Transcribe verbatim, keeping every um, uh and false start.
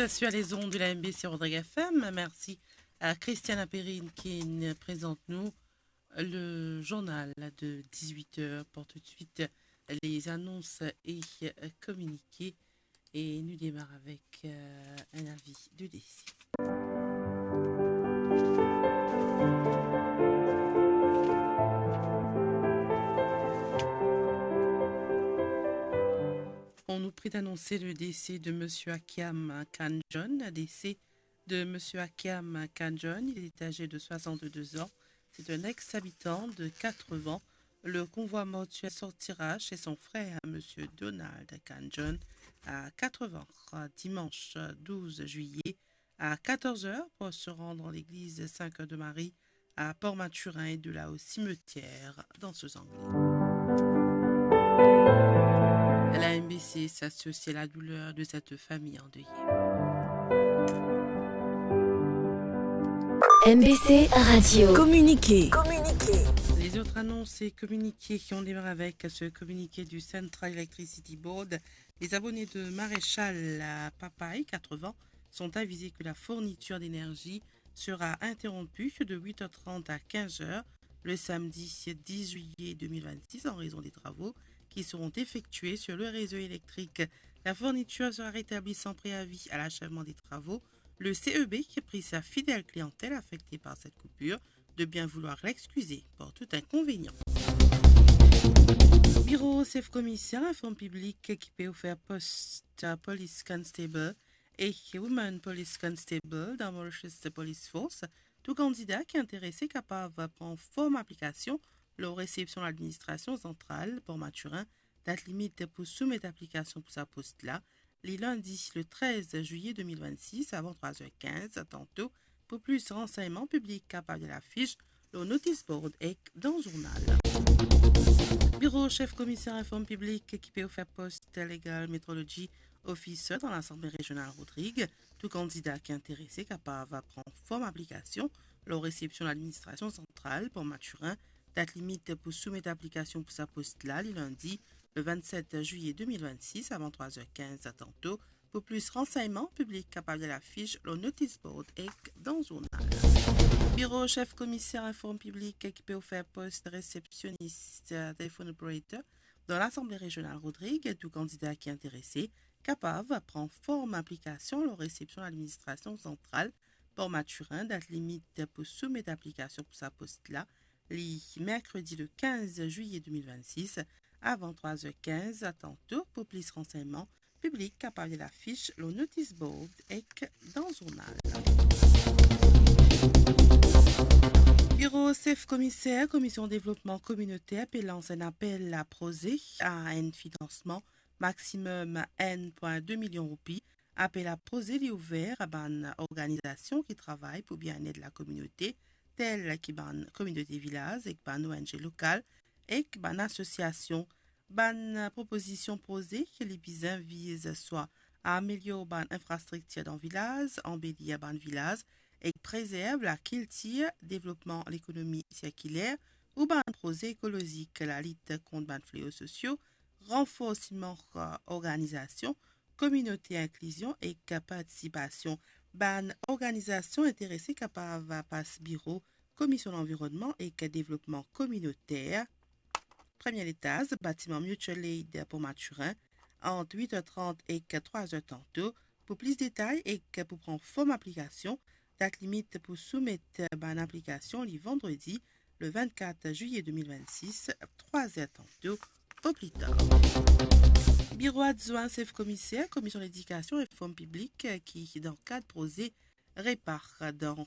Sur les ondes de la M B C Rodrigues F M, merci à Christiane Apérine qui nous présente nous le journal de dix-huit heures. Pour tout de suite, les annonces et communiqués. Et nous démarrons avec, euh, un avis de décès. On nous prie d'annoncer le décès de monsieur Akiam Kanjon, décès de monsieur Akiam Kanjon. Il est âgé de soixante-deux ans. C'est un ex-habitant de Quatre-Vents. Le convoi mortuaire sortira chez son frère, monsieur Donald Kanjon, à Quatre-Vents, dimanche douze juillet à quatorze heures pour se rendre en l'église Saint-Cœur de Marie à Port-Mathurin et de là au cimetière dans ce Anglais. La M B C s'associe à la douleur de cette famille endeuillée. M B C Radio. Communiqué. Les autres annonces et communiqués qui ont démarré avec ce communiqué du Central Electricity Board. Les abonnés de Maréchal à Papaye Quatre-Vents sont avisés que la fourniture d'énergie sera interrompue de huit heures trente à quinze heures le samedi dix juillet deux mille vingt-six en raison des travaux qui seront effectués sur le réseau électrique. La fourniture sera rétablie sans préavis à l'achèvement des travaux. Le C E B qui prie sa fidèle clientèle affectée par cette coupure de bien vouloir l'excuser pour tout inconvénient. Biro Sef Komiser inform piblik ki pe ofer post Police Constable ek Woman Police Constable dan Mauritius Police Force. Tou kandida ki interese kapav pran form aplikasion lor resepsion ladministrasion zantral Port Mathurin. Dat limit pou soumet aplikasion pou sa post la, li lindi le trez ziye de mil vennsis avan trwa zer kinz tanto. Pou plis ransegnman, piblik kapav lir lafis lor notis board ek dan zournal. Biro Sef Komiser inform piblik ki pe ofer post Legal Metrology Officer dan Lasanble Rezional Rodrig. Tou kandida ki interese kapav pran form aplikasion lor resepsion ladministrasion zantral Port Mathurin. Dat limit pou soumet aplikasion pou sa post la, li lindi le vennset ziye de mil vennsis avan trwa zer kinz tanto. Pou plis ransegnman, piblik kapav lir lafis lor notis board ek dan zournal. Biro Sef Komiser inform piblik ki pe ofer post resepsionis, telephone operator dan Lasanble Rezional Rodrig. Tou kandida ki interese kapav pran form aplikasion lor resepsion ladministrasion zantral Port Mathurin. Dat limit pou soumet aplikasion pou sa post la, li merkredi le kinz ziye de mil vennsis avan trwa zer kinz tanto. Pou plis ransegnman, piblik kapav lir lafis lor notis board ek dan zournal. Biro Sef Komiser, Komision Devlopman Kominoter pe lans enn apel a proze a enn finansman maximum enn pwin de milion roupi. Apel a proze li ouver a bann organizasion ki travay pou bienet lakominote, tel ki bann kominote vilaz ek bann O N G lokal ek bann asosiasion. Bann propozision proze ki li bizin viz swa amelior bann infrastriktir dan vilaz, anbelir bann vilaz ek prezerv lakiltir, devlopman lekonomi sirkiler ou bann proze ekolozik, lalit kont bann fleo sosio, ranforsman organizasion kominote, inklizion ek partisipasion. Bann organizasion interese kapav pas biro Komision Lanvironnman ek Devlopman Kominoter, premie letaz, batiman Mutual Aid Port Mathurin, ant wit er trant ek trwa zer tanto. Pou plis detay ek pou pran form aplikasion, dat limit pou soumet bann aplikasion li vandredi le vennkat ziye de mil vennsis, trwa zer tanto o pli tar. Biro Adwin Sef Komiser, Komision Ledikasion ek Form Piblik, ki dan kad proze Repar dan